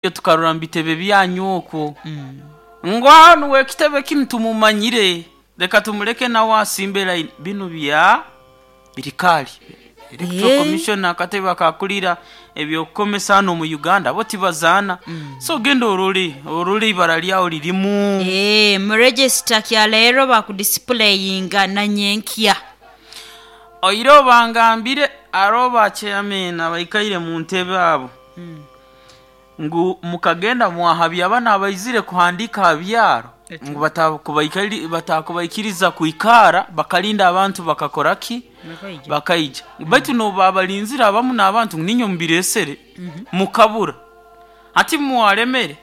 Tukarora mu bitebe byanyu okwo ngu hanu w'ekitebe kinu tumumanyire, reka tumuleke nawe asimbe layini. Binu bya birikaali. Electoral Commission, akatebe akakulira ebyokukomesa hanu omu Uganda, bo tibazaana. So genda orole, orole ibara lyawe lirimu. Mu register kya leero bakudisipuleyinga na nyenkya. Oireho bangambire haroho ba chairman abaikaire mu ntebe abo ngu mukagenda mwahabya banu abaizire kuhandiika ha byaro ngu batakubaikiriza kwikaara, bakalinda abantu bakakora ki? Bakaija. Baitu n'obu babalinzire abamu n'abantu ngu niinywe mubireesere, mukabura. Hati mwaremere,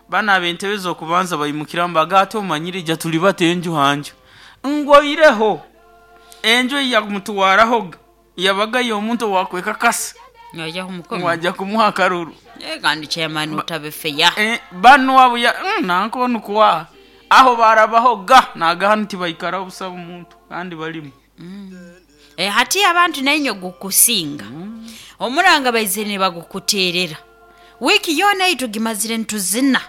banu ab'entebe z'okubanza baimukiramu bagamba ati omanyire ija tulibata enju ha nju. Ngu oireho enju ei yamutwarahoga yabaga y'omuntu owaakwekakasa ngu aja kumuha akaruru. Kandi chairman utabe fair. Banu abo nanka onu kwaha aho baarabahoga naaga hanu tibaikaraho busa muntu kandi balimu. Hati abantu nainywe gukusinga. Omuranga baizire nibagukuteerera. Wiiki yoona ei tugimazire nituzina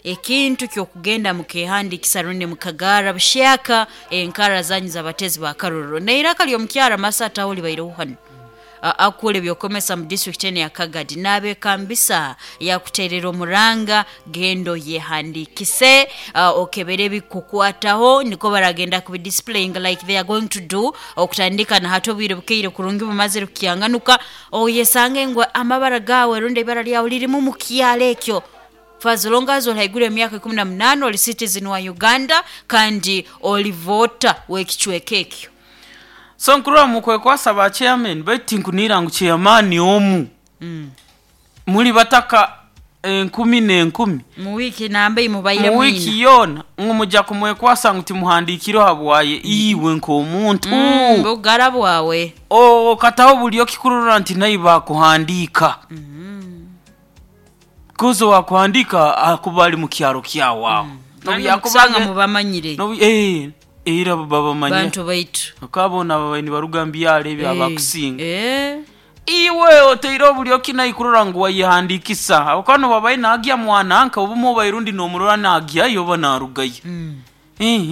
ekintu ky'okugenda mukeehandiikisa rundi mukagaara bushyaka enkara zanyu z'abateezi ba karuru. N'eiraka ly'omukyara Masa Taho libaireho hanu akukora eby'okukomesa mu disiturikiti enu eya Kagadi naabeekambisa yakuteerera omuranga genda oyehandiikise, okebere ebikukwataho nikwo baragenda kubidisipuleyinga like they are going to do okutandika na hati obwire bukeire kurungi bumazire kukyanganuka oyesange ngu amabara gaawe rundi eibara lyawe lirimu mu kyaro ekyo. For as long as ori haiguru y'emyaka ikumi na munaana ori citizen wa Uganda kandi ori voter w'ekicweka ekyo. So nkurora mukwekwasa ba chairman, baitu tinkuniira ngu chairman omu muli bataka enkumi n'enkumi Mu wiiki namba ei mubaire mu mwina. wiiki yoona ngu muja kumwekwasa ngu timuhandiikireho habwaye iwe nk'omuntu. Bugara bwawe. Okataho buli okikurora nti naiwe baakuhandiika. Kozi owaakuhandiika akuba ali mu kyaro kyawe aho. Kandi okusanga mubamanyire. Era babamanyire. Bantu baitu. Bakaba boona babaire nibaruga mu byaro ebi abakusinga. Iwe otaire obulyo ki naiwe kurora ngu wayehandiikisa? Habwokuba n'obu abaire naagya mwananka, obumwe obaire rundi noomurora naagyayo oba naarugayo.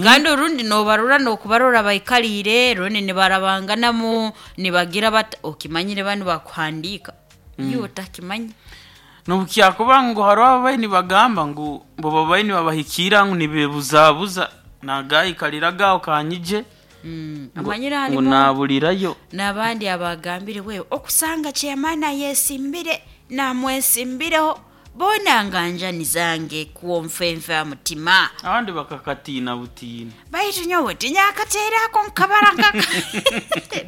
Kandi orundi noobarora n'okubarora baikaliire rundi nibarabanganamu nibagira bata, okimanyire banu bakuhandiika, iwe otakimanya. N'obu kyakuba ngu haroho ababaire nibagamba ngu bo babaire nibabahikiira ngu nibeebuzaabuza, naagaikaliraga aho kanyije Amanyire ngu harimu naabulirayo. N'abandi abagambire we okusanga chairman ayesimbire namwesimbireho boona nganjani zange kwo nfenfe aha mutima. Abandi bakakatiina butiina. Baitu nyowe tinyakateere ako nkabara nkaka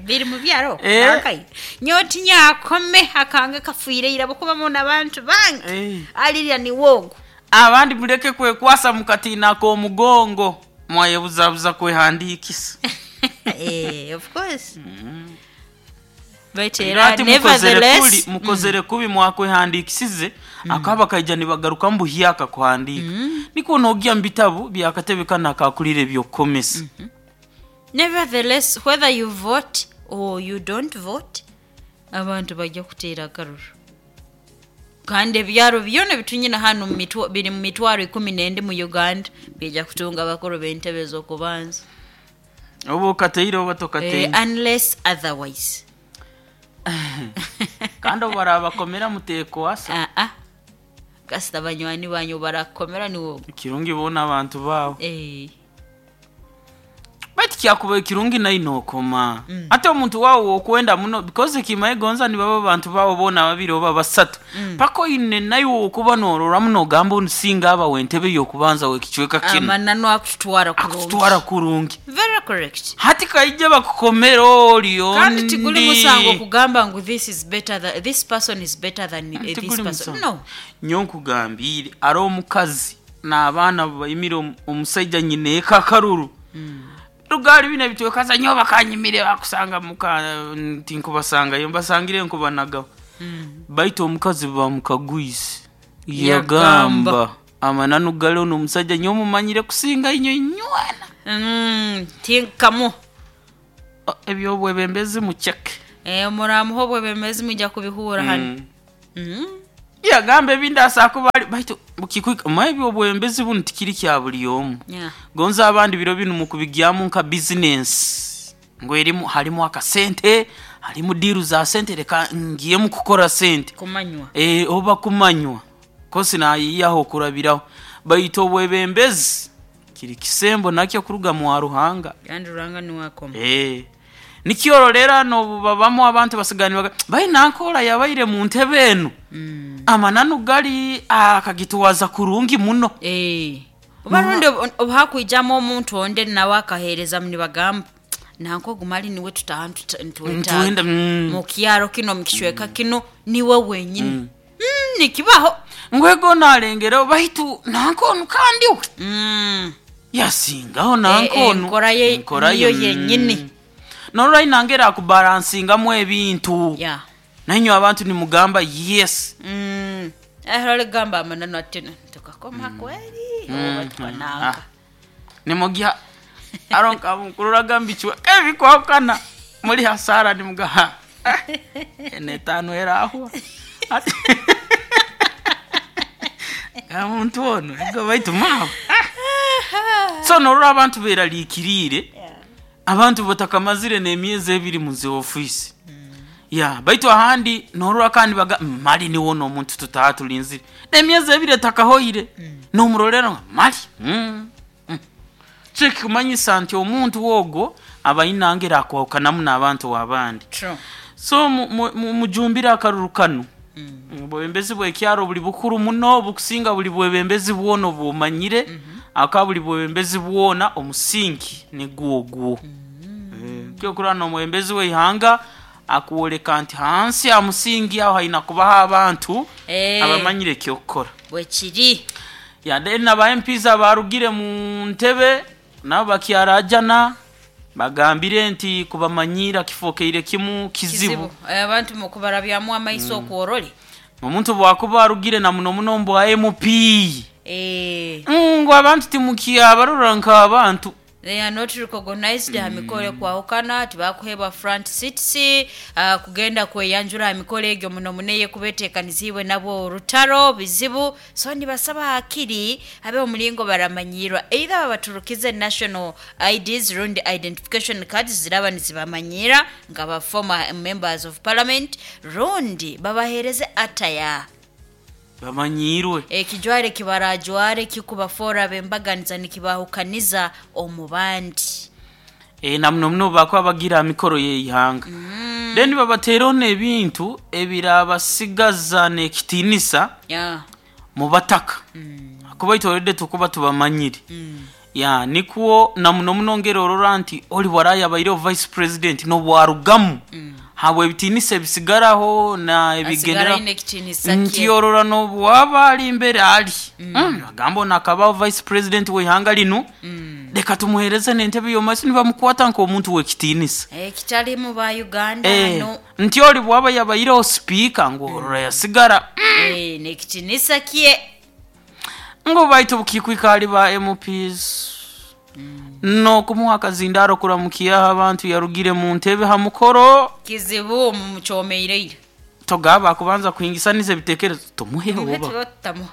biri mu byaro nakaire. Nyowe tinyakome akange kafiire ira ahabw'okuba mbona abantu bange alirya niwe ogu. Abandi muleke kwekwasa mukatiina ak'omugongo mwayebuzabuza kwehandiikisa. Of course. Baitu Era era ati mukozere kuri, nevertheless mukozere kubi mwakwehandiikisize, akaba bakaija nibagarukamu buhyaka kuhandiika. Nikwo noogya mu bitabu by'akatebe kanu akakulira eby'okukomesa. Nevertheless, whether you vote or you don't vote, abantu bajja kuteera akaruru. Kandi ebyaro byona ebitunyina hanu mu mitwa, biri mu mitwaro ikumi n'endi mu Uganda biija kutunga abakuru b'entebe ez'okubanza. Oba okateire oba tokateire. Unless otherwise. Kandi obu barabakomera muteekwasa. Aa. Kasita banywani banyu barakukomera niwe ogu. Ekirungi boona abantu baawe. Baitu kyakubaire kirungi naiwe nookoma. Hati omuntu waawe ow'okwenda muno because ekimaye gonza nibaba abantu baawe boona babiri oba basatu, paka oine naiwe ow'okuba noororamu noogamba onu singa aba w'entebe y'okubanza w'ekicweka kinu. Amananu akututwara kurungi. Akututwara kurungi. Very correct. Hati kaije bakukomere ori Kandi tiguli ondi. musango kugamba ngu this is better than, this person is better than this Tiguli person. musango. No. Nyowe nkugambiire haroho omukazi n'abaana baimire omusaija nyina eka akaruru. Rugaari binu ebitwekaza nyowe bakanyimire bakusanga muka tinkubasangayo mbasangire nkubanagaho. Baitu omukazi bamukagwize Yagamba. yagamba amananu gari onu omusaija nyowe mumanyire kusinga inywe inywena. Tinkamu. Eby'obwebembezi muceke. Muramuha obwebembezi mwija kubihurra hanu. Yagamba ebindi asakuba ali baitu bukikwika maybe obwembezi bunu tikiri kya buli omu. Gonza abandi biro binu mukubigyamu nka bizinesi ngu erimu harimu akasente, harimu diiru za sente, reka ngiyemu kukora sente. Kumanywa. Oba kumanywa kosi nayiyaho okurabiraho, baitu obwebembezi kiri kisembo nakyo kuruga mwa Ruhanga. Kandi Ruhanga niwe akoma. Nikyororera nobubabamu abantu basigani baga bai nankora yabaire mu ntebe enu. Amananu gali akagitwaza kurungi muno. Oba rundi obuhakwijamu omuntu onde nawe akahereza nibagamba nanko gumali niwe tutaha ntuwetaaga. Ntuwenda, Mu kyaro kino, mu kicweka kino niwe wenyini. Nikibaho. Ngwego nalengera baitu nanko onu kandi we. Yasingaho nanko onu. Enkora ye Enkora ye, niyo yenyini. Norora inangera akubalansingamu ebintu. Nainywe abantu nimugamba yes. Oligamba amananu ati tukakoma kweli. Oba tukananga. Nimugya aronka mukurura gambichwa ebikwakana muri hasara nimugaha. Ene tano erahwa. Omuntu ono ego baitu mawe. So norora abantu berarikirire. Abantu batakamazire n'emyezi 2 mu zi office. Baitu ahandi norora kandi baga mali niwono omuntu tutaha tulinzire. N'emyezi 2 etakahoire. Nomurorera mali. Chekumanyisa nti omuntu wogo abayinangira akwawukanamu n'abantu abandi. So mujumbira akaruru kano. Obwebembezi bw'ekyaro buli bukuru muno, bukusinga buli bwebembezi bwona obumanyire. Aka buli bwebembezi bwona omusingi nigwo ogwo. Kyokurana n'omwebembezi w'eihanga akuworeka nti hansi ya musingi aho haina kubaho abantu abamanyire ekyokukora. Bwekiri. Then aba MPs abarugire mu ntebe nabo bakyarajana bagambire nti kubamanyira kifokeire kimu kizibu. Kizibu. Abantu mukubarabyamu amaiso okworole. Omuntu bwakuba arugire na muno muno mbwa MP. Ngo abantu timukyabarora nk'abantu. They are not recognized. Hamikole kwahukana tibakuhebwa front seats, kugenda kweyanjura hamikole egyo muno muneye kubetekanizibwe nabo orutaro bizibu. So nibasaba hakiri abe omulingo baramanyirwa, either babaturukize national IDs rundi identification cards ziraba nizibamanyira nga ba former members of parliament, rundi babahereze ataya bamanyirwe ekijware kibarajware kikubafora bembaganiza nikibahukaniza omubandi. Na muno muno bakwa bagira mikoro yeihanga. Then babateeraho n'ebintu ebirabasigaza n'ekitinisa mu bataka. Kuba itolede tukuba tubamanyire. Nikwo na muno muno ngero orora nti oli waraya baire vice president n'obwarugamu. Habwe ebitinisa ebisigaraho na ebigendera Asigara ekitinisa nti kye. orora n'obwaba ali imbere ali. Agamba nakabaho vice president w'ihanga linu. Reka tumuhereze n'entebe y'omumaiso nibamukwata nk'omuntu w'ekitinisa. Kitali mu ba Uganda no. Nti oli bwaba yabaireho speaker ngu orora yasigara. N'ekitinisa kye. Ngu baitu bukikwika ali ba MPs. N'okumuha akazindaro kuramukiyaho abantu yarugire mu ntebe ha mukoro. Kizibu mumuchomeire. Togaba kubanza kuhingisaniza ebitekerezo tumuhe Tumuhe oba. tuba tutamuha.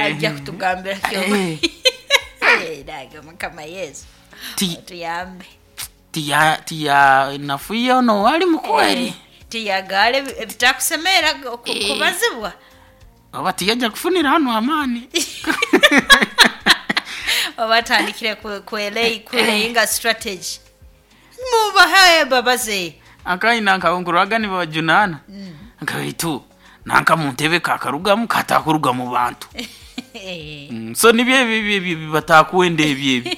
Ajja kutugambira kyo. Daga Mukama Yesu. Tuyambe. Tiya tiya nafuye ono wali mukweri. Tiyagale ebitakusemera kubazibwa. Oba tiyajja kufunira hano amani. Oba tandikire kuleyinga strategy. Mubahaye babaze. Akaina nkankuraga ni babajunana. Nkaitu nanka mu ntebe kakarugamu katakuruga mu bantu. So nibyo ebi batakuwenda ebi ebi.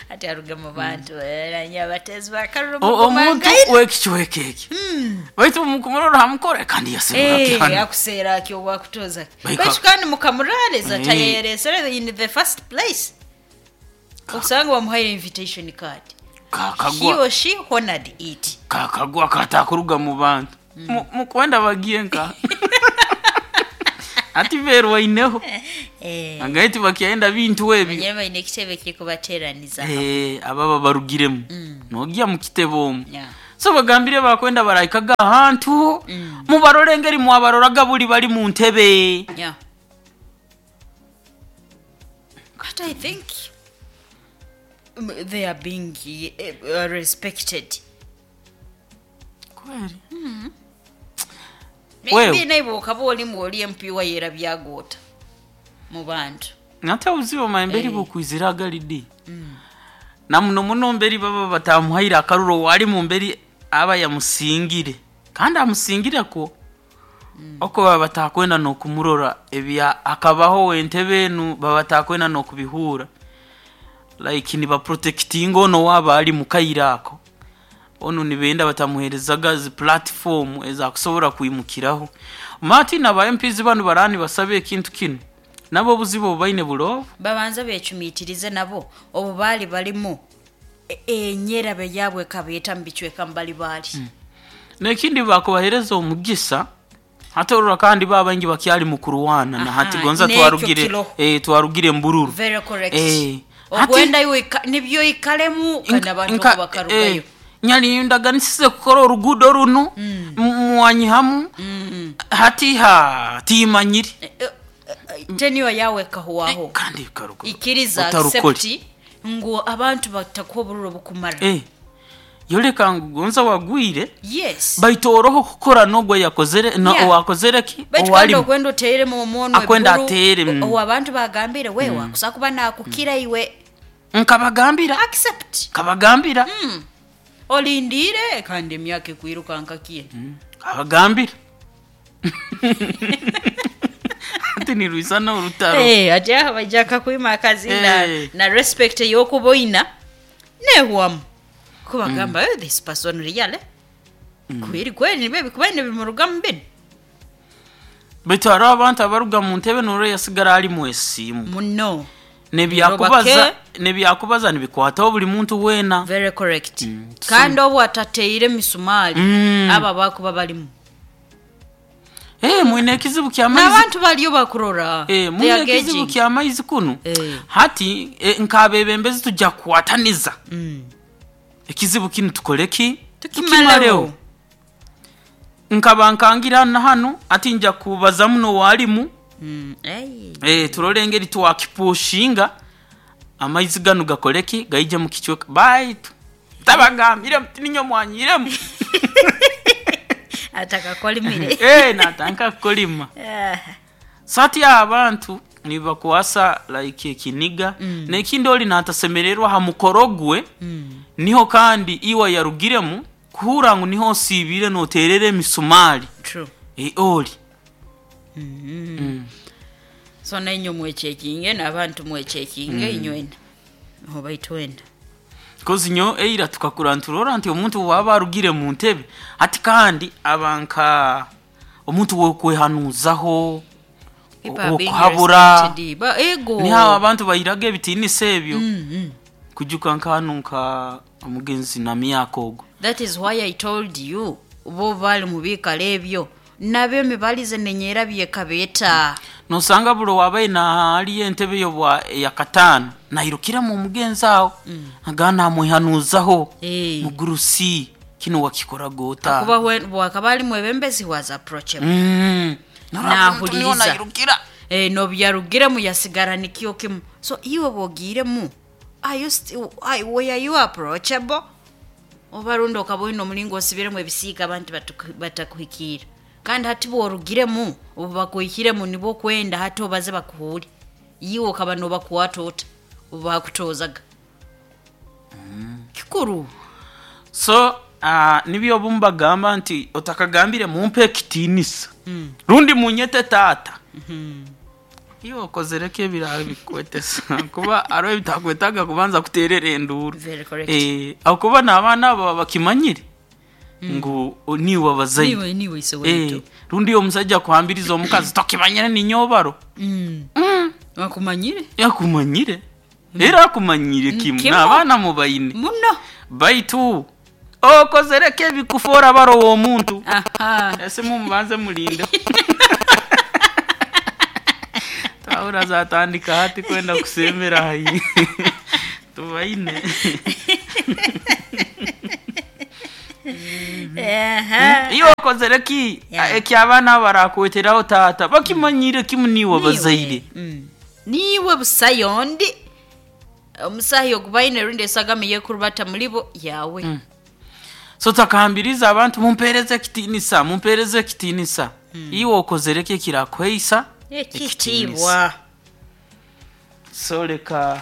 Ati aruga mu bantu, nyabatezi bakaruru Omuntu w'ekicweka eki. Baitu mukumurora hamukore kandi yaserura kihano. Yakusera ki obwakutoza. Baika- Baitu kandi mukamurareza tayeresera in the first place. Okusanga bamuhaire invitation card. Kakagwa. He or she honored it. Kakagwa katakuruga mu bantu. Mukwenda bagiye nka. Ati berwa ineho. Angaiti bakienda bintu ebi. Banyema ine kitebe kikubateraniza. Ababa barugiremu. Nogiya mu kitebe omwo. So bagambire bakwenda barahikaga ahantu, mubarore engeri mwabaroraga buli bali mu ntebe. Yeah. But I think they are being respected. Kweli. Maybe Wewe. naiwe okaba olimu oli MP wa yerabyagoota mu bantu. Nate obuzibu mayemberi bukwizira agalidi. Na muno muno mberi baba batamuhaire akaruro wali mu mberi aba yamusingire. Kandi amusingire ko oko baba batakwenda nokumurora ebya akabaho entebe enu baba batakwenda nokubihura. Like ni ba protecting ono waba ali mukairako. Ono nibenda batamuherezaga zi platform ezakusobora kwimukiraho. Martin aba MPs banu barani basabe ekintu kino. Nabo buzibu baine bulovu. Babanza becumitirize nabo obu bali balimu enyerabe yabwe kabeeta mubicweka mbali bali. Nekindi bakubahereza omugisa hata orora kandi babangi bakyali mu kurwana na hati gonza N'ekyo twarugire kiro. Twarugire mbururu. Very correct. Hati Ogwenda iwe nibyo ikalemu kandi abantu bakarugayo. Nyali ndaganisize kukora orugudo runo mwanyihamu hati ha timanyiri. Teniwa yawe kahuwaho. Kandi karugo. Ikiriza Otarukore. accept ngu abantu batakuha obururo bukumara. Yoreka ngu gonza wagwire. Yes. Baitu oroho kukora nogwe yakozere na owakozere ki? Baitu Owali kandi okwenda oteere mu mwono Akwenda ebihuru, ateere, owo abantu bagambire wewe kusa kuba nakukira iwe. Nkabagambira. Accept. Kabagambira. Olindire kandi emyaka ekwiruka nkakiye. Kabagambira. Ati ni rwisana urutaro. Ati aha bajaka kwima akazi na respect yokuboina nehwamu. Kubagamba, this person real. Kweri kweri nibe bikubaine bimuruga mu bino. Baitu hariho abantu abaruga mu ntebe noro yasigara ali mu esimu. Muno. Nebyakubaza nibikwataho buli muntu wena. Very correct. Kandi obu atateire misumari aba bakuba balimu. Mwine ekizibu kya maizi. N'abantu baliyo bakurora. Mwine ekizibu kya maizi kuno. Hati nkabebembezi tujja kukwataniza. Ekizibu kinu tukoleki? Tukimaleo. Nkaba nkangira na hano ati nja kubaza muno walimu. Turole engeri twakipushinga amaizi gano gakoleki gaije mu kichweka. Baitu tabagambire ninyo mwanyiremu. Ataka kolimire. Natanka kolima. Sati abantu nibakwasa like ekiniga. Nekindi oli natasemererwa ha mukorogwe. Niho kandi iwa yarugiremu kuhura ngu niho sibire noterere emisumari. True. Oli. So na inyo mwechekinge n'abantu mwechekinge inywena. Oba itwenda. Kozi nyo eira tukakura nturora nti omuntu waba arugire mu ntebe ati kandi abanka omuntu wo kwehanuzaho okuhabura ego. Ni hawa abantu bayiraga ebitinisa ebyo. Kujuka nkanu nka omugenzi na myaka ogwo. That is why I told you bo bali mu bikalo ebyo nabyo mibalize nenyera byekabeta. Nosanga bulo wabaye na ali entebe yo bwa ya katano nairukira mu mugenzi aho. Agana amwehanuzaho. Mugurusi kino wakikora gota. Kuba wakabali mwebembezi was approachable. Nahuliriza. Nairukira. No byarugira mu yasigara nikyo kimu. So iwe bogiremu are you still where you approachable? Obarundo kaboino omulingo osibiremu ebisiika abantu batakuhikira. Kandi hati bworugiremu obu bakuhikiremu nibo kwenda hati obaze bakuhuri. Iwe okaba nobakwata ota obu bakutozaga. Kikuru. So nibyo obumbagamba nti otakagambire mumpe ekitinisa. Rundi munyete tata. Iyo okozereko ebiraro bikwetesa kuba aro ebitakwetaga kubanza kuterera enduru. Very correct. Akuba n'abaana abo bakimanyire ngu niwe abazaire. Niwe ise wetu. Rundi omusajja kuhambiriza omukazi tokimanyire ninyobaro. Wakumanyire? Yakumanyire. Era akumanyire kimu n'abaana mubayine. Muno. Baitu okozereko ebikufora baro w'omuntu. Ese mumubanze mulinde. Taura zatandika hati kwenda kusemera hayi. Tubaine. Aha. Iyo okozere ki Yeah. ekyabaana barakweteraho taata bakimanyire kimu niwe bazaire. Niwe busayo ndi omusahi ogubaine rundi esagama yekurubata mulibo yawe. So takahambiriza abantu, mumpereze ekitinisa, mumpereze ekitinisa. Iwe okozere ki ekirakuheisa ekitiibwa? So leka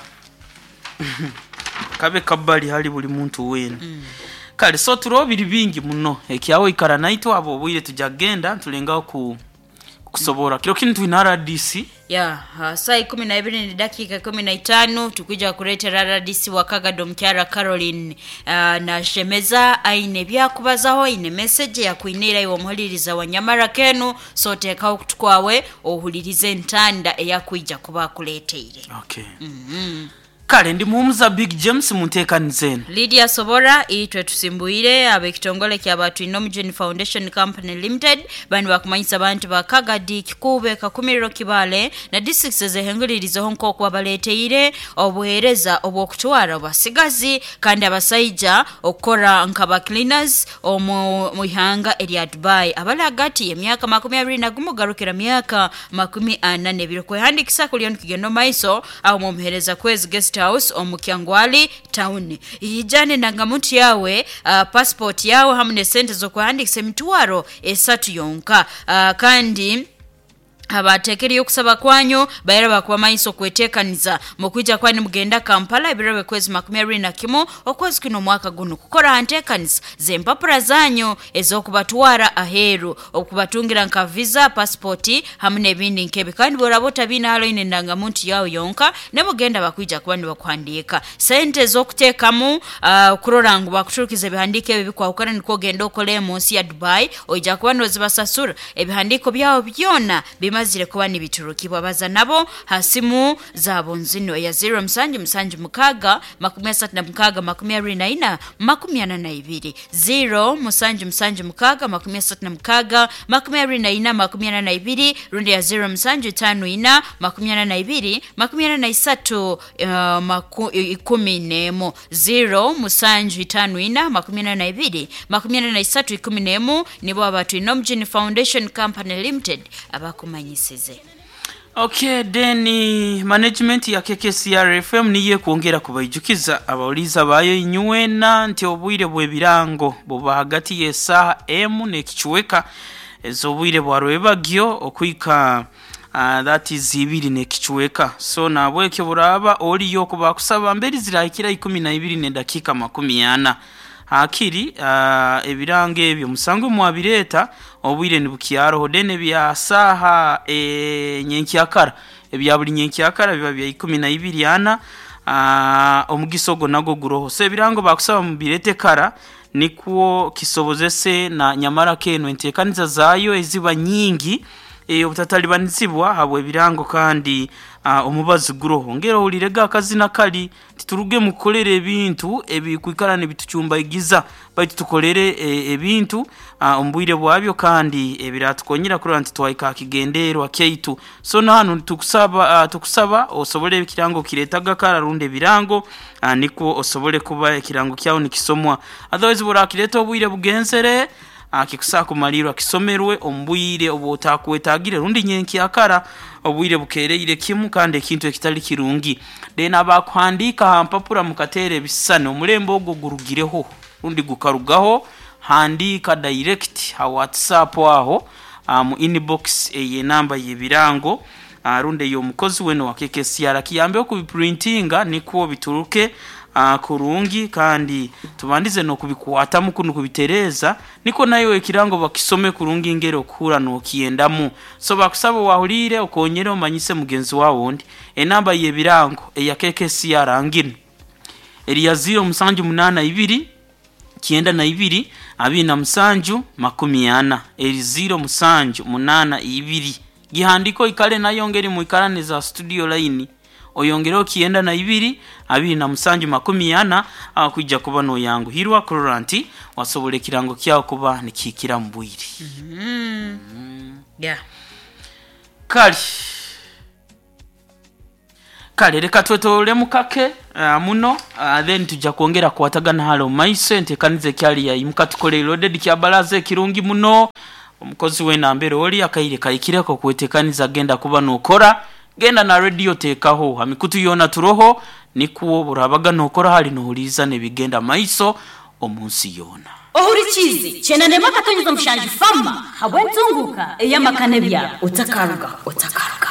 kabe kabali hali buli muntu wena. Kale, so turoho biri bingi muno ekyawe ikara naitwe abo obwire tujja kugenda tulengaho ku kusobora kiro kinu twina RDC. Ya, saa 12 ni dakika 15, tukuja kuretera RDC wa Kagado Mukyara Caroline na Shemeza aine byakubazaho, aine message yakuinira iwe omuhuliriza wa Nyamara kenu. So teekaho okutu kwawe ohulirize entanda eyakwija kuba akuleteire. Okay. Kale, ndi muhumuza Big James munteekaniza eno. Lydia Sobora. Itwe tusimbuire ab'ekitongole kya Batwinomujuni Foundation Company Limited, bani bakumanyisa abantu ba Kagadi, Kikube, Kakumiriro, Kibale na districts ezehengulirizeho nk'oku babaleteire obuheereza obw'okutwara abasigazi kandi abasaija okukora nk'aba cleaners omu mu ihanga erya Dubai, abali hagati y'emyaka 21 garukira myaka 42. Kwehandikisa kuliyo nikigenda omu maiso aho mumuhereza Kwezi Guest House omu Kyangwali Town. Ijane ndangamuntu yawe, passport yawe hamwe nesente z'okwehandikisa 3000 yonka. Kandi abateekeriyo okusaba kwanyu baira bakuba okwetekaniza mukwija kwani mugenda Kampala ebiro byekwezi 21 okwezi kuno omwaka guno kukora ha nteekaniza z'empapura zanyu ez'okubatwara aheeru, okubatungira nka visa, passport hamwe n'ebindi nkebi. Kandi bworaba otabiine halo ine endangamuntu yawe yonka nemugenda bakwija kuba nibakuhandiika sente ez'okuteekamu, kurora ngu bakuturukiza ebihandiiko ebi bikwahukana nikwo ogenda okole mu nsi ya Dubai, oija kuba nozibasasura ebihandiiko byawe byona bimazire kuba nibiturukibwa. Baza nabo ha simu zabo nzino eya 0776 36 24 42, 0776 36 24 42, rundi ya 0754 42 43 11, 0754 42 43 11. Nibo Abatwinomujuni Foundation Company Limited abakumanyisize. Okay, then management ya KKCR FM niye kwongera kubaijukiza abawuliza bayo inyuwena nti obwire bw'ebirango buba hagati y'esaaha emu n'ekichweka ez'obwire bwa rwebagyo okwika that is ibiri n'ekichweka. So nabwekyo buraba oliyo okuba kusaba mberi zirahikira 12:40 hakiri ebirango ebyo musango mwabireeta obwire nibukyaroho. Then ebya saaha nyenkyakara, ebya buli nyenkyakara biba bya 12:40, omugisa ogwo nagwo guroho. So ebirango bakusaba mubirete kara nikwo kisobozese na Nyamara kenu enteekaniza zaayo eziba nyingi obutatalibanizibwa habwa ebirango. Kandi omubazi guroho ngera ohulirega akazina kali tituruge mukukolera ebintu ebikwikara nibitucumbaigiza, baitu tukolere ebintu omu bwire bwabyo kandi ebiratukonyera kurora nti twahika ha kigenderwa kyaitu. So nahanu tukusaba, tukusaba osobole ekirango kiretaga kara rundi ebirango, nikwo osobole kuba ekirango kyawe nikisomwa. Otherwise burakireta obwire bugenzere, kikusaa kumalirwa kisomerwe omu bwire obwotakwetagire rundi nyenkyakara obwire bukereire kimu, kandi ekintu ekitali kirungi. Then abakuhandiika ha mpapura mukateera ebisisani, omulembe ogwo gurugireho rundi gukarugaho. Handiika direct ha WhatsApp aho, mu inbox ey'enamba y'ebirango, rundi ey'omukozi wena wa KKCR kiyambeho kubiprintinga nikwo bituruke kurungi, kandi tubandize n'okubikwatamu kunu kubitereeza niko nayo ekirango bakisome kurungi ngeri okuhura n'okiyendamu. So bakusaba wahuliire okonyere omanyise mugenzi wawe ondi. Enamba y'ebirango eya KKCR nginu eri ya 0782 92 27 40, eri 0782. Gihandiko ikale nayo ngeri muikarane za studio line, oyongereho 92 27 40, kwija kuba noyanguhirwa kurora nti wasobola ekirango kyawe kuba nikihikira mu bwire. Kale kale, reka twetolole mukake. Muno then tujja kwongera kukwatagana hali omu maiso. Enteekaniza ekyali yaimuka tukole loaded kya baraza ekirungi muno. Omukozi weena mbere oli, akaire kahikire okwetekaniza genda kuba nokora, genda na radio teekaho ha mikutu yoona turoho, nikwo burabaga nokora hali nohuriiza n'ebigenda maiso omu nsi yoona. Ohurikiize 91.7 fama habw'entunguka ey'amaka n'ebyaro. Otakaruga, otakaruga.